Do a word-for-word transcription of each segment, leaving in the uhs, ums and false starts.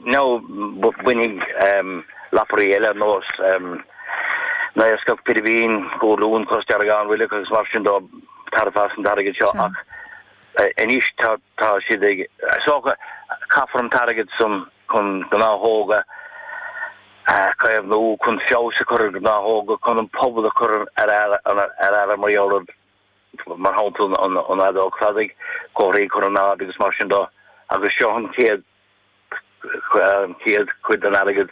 No bainfidh um, lapairí eile nós um, naoscach pilibín górlún cosdeargán roilleach agus mar sin de tairbhe as an t-airgead seo ach anois tá tá siad ag so caithfear an t-airgead san chun gnáthóga caomhnú chun feabhas a chur ar gnáthóga chun an pobal a chur ar ar ar mar mar shampla an an fheadóg cladaigh comharthaí chur in airde agus mar sin de agus seo an chéad an chéad chuid den airgead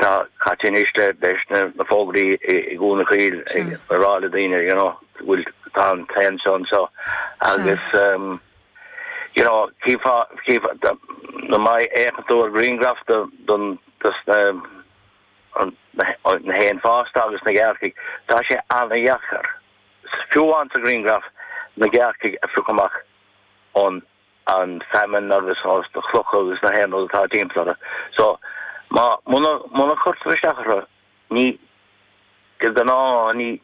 tá caite anois le leis na na fógraí i gCuan na Caol ag rá le daoine you know bhfuil tá an t-éan seo anseo agus um, you know cífa cífa na má fhéachann tú ar grianghraf don na na héin fásta agus na gearrcaigh tá sé an-dheacair fiú an sa ghrianghraf na gearrcaigh a phiocadh amach ón an feamainn agus as na clocha agus na haon atá timpeall. So má muna muna chuirtear isteach orthu ní de ghnáth ní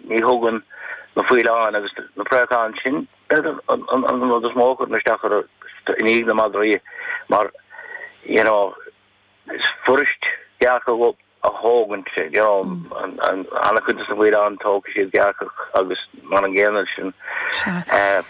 ní thugann na faoileáin agus na préacháin sin an an an rud is mó a chuireann isteach orthu i ndiaidh na madraí mar you know is fuirist gearrcach a thógaint you know an an an-chuid de na faoileáin tógfaidh siad gearrcach agus mar an gcéanna sin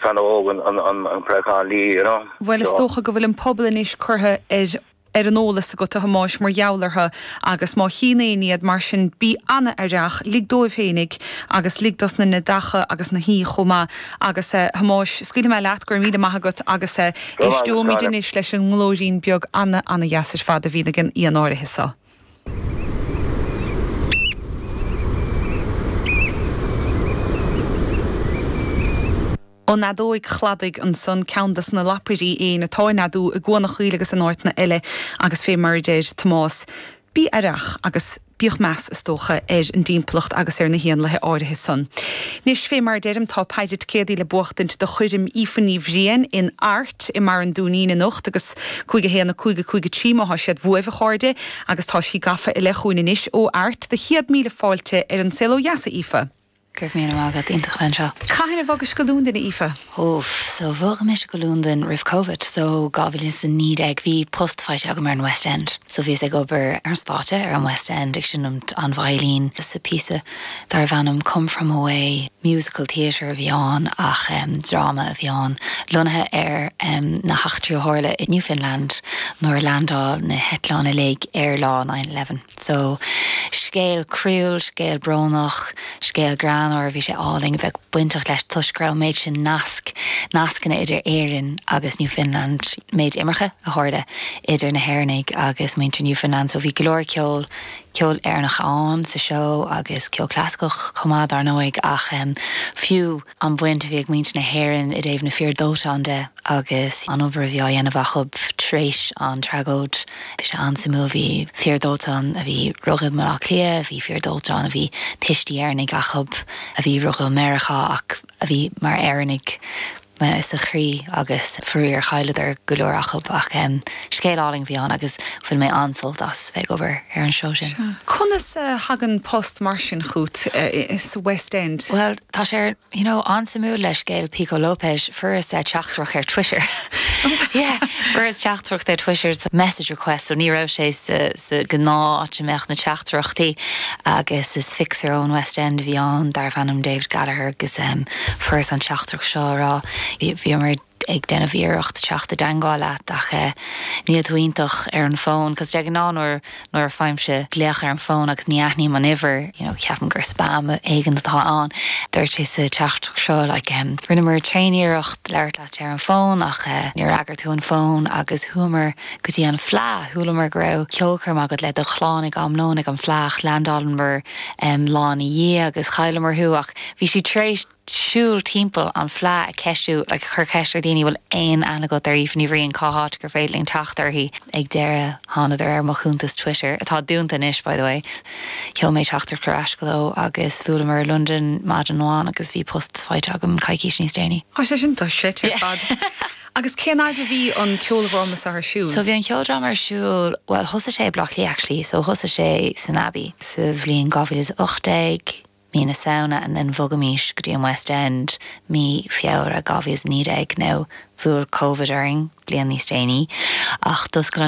feannóg an an an préachán liath you know. Bhuel is dócha go bhfuil an pobal anois curtha ar ar an eolas agat a Thomáis mar gheall orthu agus má chíonn éinne iad mar sin bí an-aireach, lig dóibh féinig agus lig dos na neadacha agus na huain chomh maith agus eh, Thomáis scaoilfidh mé leat go raibh míle maith agat agus eh, éisteoimid anois leis an nglóirín beag ana ana dheas ar fad a bhíonn ag an éan áirithe seo. An fheadóig chladaigh ansan ceann des na lapairí éin atá ag neadú i gCuan na Caol agus in áiteanna eile agus fé mar a deir Tomás, bí aireach agus bíodh meas is dócha ar an dtimpeallacht agus ar na héanlaithe áirithe san. Anois fé mar a deirim tá paire ticéadaí le buachtaint do choirm Aoife Ní Bhriain in Art i mBarr an Dúinín anocht agus cúig a haon a cúig a cúig a trí má tá siad uaibh a chairde agus tá sí gafa i leith chugainn anois ó Art do chéad míle fáilte ar an Saol Ó Dheas a Aoife. Go raibh míle maith agat iontach anseo. Cathain a bhogais go Londain a Aoife? Óf, so bhog mise go Londain roimh COVID, so dhá mhíle is a naoi déag bhí post faighte agam ar an West End. So bhíos ag obair ar an stáitse ar an West End ag seinm an veidhlín sa píosa darbh ainm Come From Away musical theatre a bhí ann ach um, dráma a bhí ann lonnaithe ar um, na heachtraí a tharla i Newfoundland nuair a landáil na heitleáin uilig ar lá nine eleven. So scéal croíúil, scéal brónach, scéal greannmhar bhí sé álainn a bheith bainteach leis toisc go raibh méid sin nasc, nascanna idir Éirinn agus Newfoundland, méid imirce a tharla idir na hÉireannaigh agus muintir Newfoundland, so bhí go leor ceol, ceol Éireannach ann sa seó agus ceol clasaiceach chomh maith dar ndóigh ach um, fiú an bhaint a bhí ag muintir na hÉireann i dtaobh na fir dóiteáin de agus an obair a bhí á dhéanamh acu tar éis an tragóid. Bhí sé an-suimiúil, bhí fir dóiteáin a bhí rugadh i mBaile Átha Cliath, bhí fir dóiteáin a bhí tuistí Éireannaigh acu a bhí rugadh i Meiriceá ach a bhí mar Éireannaigh sa chroí agus faraor chailleadar go leor acu ach um, scéal álainn a bhí ann agus bhain mé an-sult as bheith ag obair ar an seó sin. Conas uh, thagann post mar sin chugat uh, sa West End? Well, tá sé you know, an-suimiúil le scéal Pico Lopes fuaireas teachtaireacht ar Twitter. yeah, fuaireas teachtaireacht ar Twitter message request, so ní raibh sé sa, sa ghnáth áit a mbeadh na teachtaireachtaí agus is fixer ón West End a bhí ann darbh ainm David Gallagher agus um, fuaireas an teachtaireacht seo ag rá bhíomar ag déanamh iarracht teacht i dteagmháil leat ach eh, níl tú iontach ar an bhfón, cos de ghnáth nuair nuair a fhaighimse glaoch ar an bhfón agus ní aithním an uimhir, you know, ceapaim gur spam éigin atá ann. Dúirt sé sa teachtaireacht seo like, um, rinneamar tréaniarracht labhairt leat ar an bhfón ach uh, níor fhreagair tú an fón agus chuamar go dtí an Fleadh, chualamar go raibh ceolchoirm agat le do chlann ag am lóin ag an Fleadh landálamar um, lá ina dhiaidh agus chailleamar thú ach bhí sí tar éis siúl timpeall an Fleadh ag ceistiú like, chur ceist ar daoine bhfuil aon aithne agat ar Aoife Ní Bhriain cá háit gur féidir linn teacht uirthi ag deireadh thánadar ar mo chuntas Twitter atá dúnta anois by the way. Sheol mé teachtaireacht ar ais leo agus bhuaileamar i London maidin amháin agus bhí post faighte agam coicís níos déanaí. Tá sé sin dochreidte ar fad. Agus cén fhad a bhí an ceoldráma ar siúl? So bhí an ceoldráma ar siúl, well thosaigh sé Bleá Cliath actually, so thosaigh sé san Abbey sa bhliain dhá mhíle is a ocht déag, mí na Samhna and then bhogaimis go dtí an West End mí Feabhra dhá mhíle is naoi déag now bhuail COVID orainn bliain níos déanaí ach d'oscail an